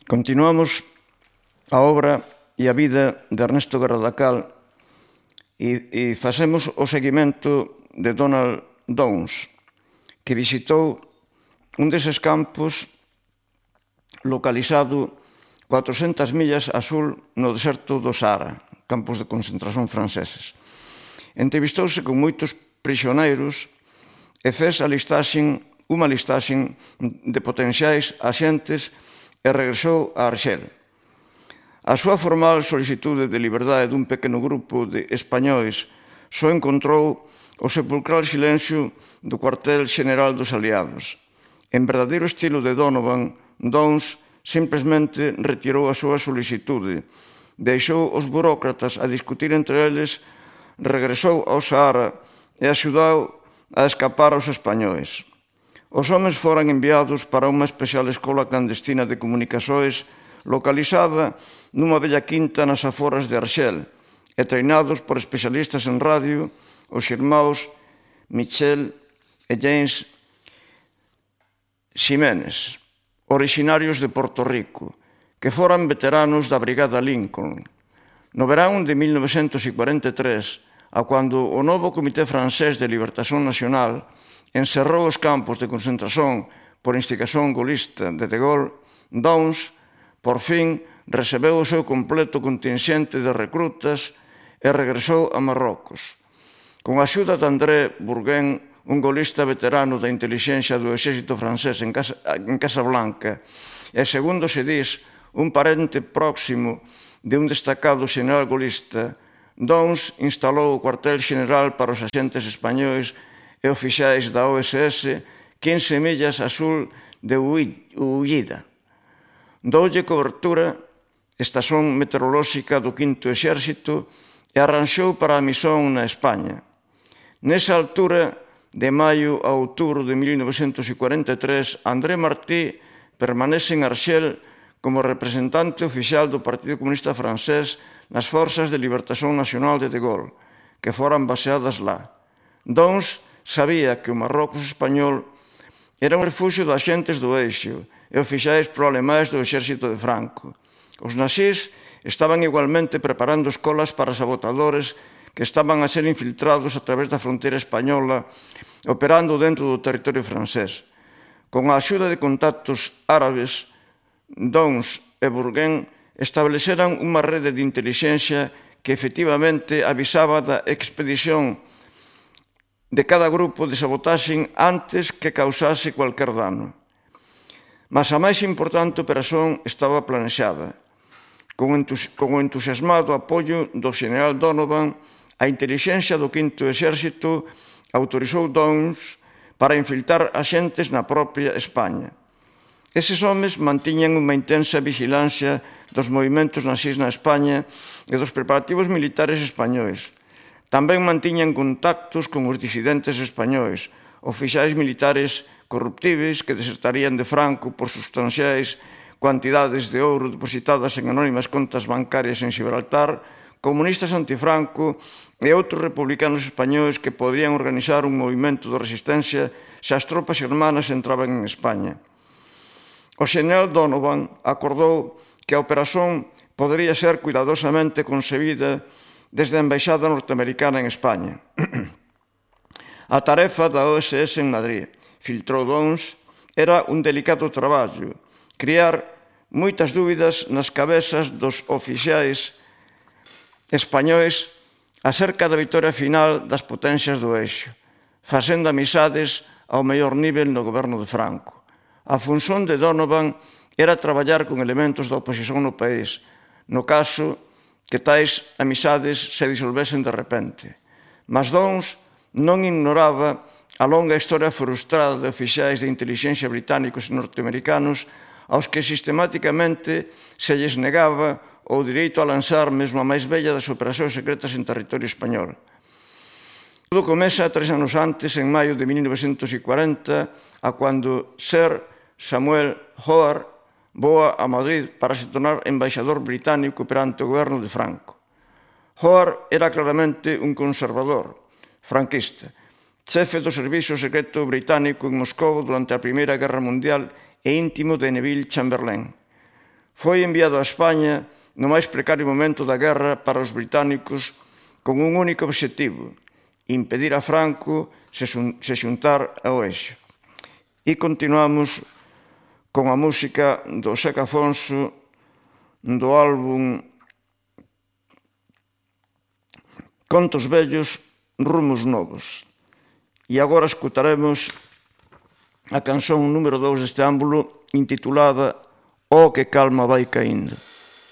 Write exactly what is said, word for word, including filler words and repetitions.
Continuamos a obra e a vida de Ernesto Guerra da Cal e, e facemos o seguimento de Donald Downes, que visitou un deses campos localizado cuatrocentas millas a sur no deserto do Sahara, campos de concentración franceses. Entrevistouse con moitos prisioneiros e fez a listaxen, unha listaxen de potenciais axentes e regresou a Arxel. A súa formal solicitude de liberdade dun pequeno grupo de españois só encontrou o sepulcral silencio do cuartel xeneral dos aliados. En verdadeiro estilo de Donovan, Downes simplesmente retirou a súa solicitude, deixou os burócratas a discutir entre eles, regresou ao Sahara e axudou a escapar aos españois. Os homes foran enviados para unha especial escola clandestina de comunicações localizada nunha bella quinta nas aforas de Arxel e treinados por especialistas en radio, os irmãos Michel e James Ximénez, orixinarios de Porto Rico, que foran veteranos da Brigada Lincoln. No verán de mil novecentos cuarenta e tres, a cando o novo Comité Francés de Libertación Nacional encerrou os campos de concentración por instigación golista de De Gaulle, Downes, por fin, recebeu o seu completo contingente de recrutas e regresou a Marrocos. Con a axuda de André Bourgain, un golista veterano da intelixencia do exército francés en, Casa, en Casablanca, e, segundo se dis, un parente próximo de un destacado xeneral golista, Downes instalou o cuartel xeneral para os axentes españois e oficiais da O S S quince millas a sur de Ullida. Doulle cobertura estación meteorolóxica do quinto Exército e arranxou para a misión na España. Nesa altura, de maio a outubro de mil novecentos cuarenta e tres, André Martí permanece en Arxel como representante oficial do Partido Comunista Francés nas Forzas de Libertación Nacional de De Gaulle, que foran baseadas lá. Downes sabía que o Marrocos español era un refuxio de axentes do Eixo e oficiais pro-alemais do exército de Franco. Os nazis estaban igualmente preparando escolas para sabotadores que estaban a ser infiltrados a través da fronteira española, operando dentro do territorio francés. Con a axuda de contactos árabes, Downes e Bourgain estableceran unha rede de intelixencia que efectivamente avisaba da expedición de cada grupo de sabotaxe antes que causase cualquier dano. Mas a máis importante operación estaba planexada. Con o entusiasmado apoio do xeneral Donovan, a intelixencia do quinto Exército autorizou Downes para infiltrar axentes na propia España. Eses homes mantiñan unha intensa vigilancia dos movimentos nazis na España e dos preparativos militares españois. Tamén mantiñan contactos con os disidentes españois, oficiais militares corruptíveis que desertarían de Franco por substanciais cuantidades de ouro depositadas en anónimas contas bancarias en Gibraltar, comunistas antifranco e outros republicanos españois que podrían organizar un movimento de resistencia se as tropas germanas entraban en España. O xeneral Donovan acordou que a operación podería ser cuidadosamente concebida desde a embaixada norteamericana en España. A tarefa da O S S en Madrid, filtrou Downes, era un delicado traballo, criar moitas dúbidas nas cabezas dos oficiais españois acerca da vitoria final das potencias do Eixo, facendo amizades ao mellor nivel no goberno de Franco. A función de Donovan era traballar con elementos da oposición no país, no caso que tais amizades se disolvesen de repente. Mas Downes non ignoraba a longa historia frustrada de oficiais de intelixencia británicos e norteamericanos aos que sistematicamente se lles negaba o direito a lanzar mesmo a máis bella das operacións secretas en territorio español. Todo comeza tres anos antes, en maio de mil novecentos cuarenta, a cando Sir Samuel Howard voa a Madrid para se tornar embaixador británico perante o goberno de Franco. Howard era claramente un conservador, franquista, chefe do Servicio Secreto Británico en Moscou durante a Primeira Guerra Mundial e íntimo de Neville Chamberlain. Foi enviado a España no máis precario momento da guerra para os británicos con un único obxectivo: impedir a Franco se xuntar ao eixo. E continuamos con a música do Seca Afonso do álbum Contos vellos, rumos novos. E agora escutaremos a canción número dous deste ámbulo intitulada O que calma vai caíndo.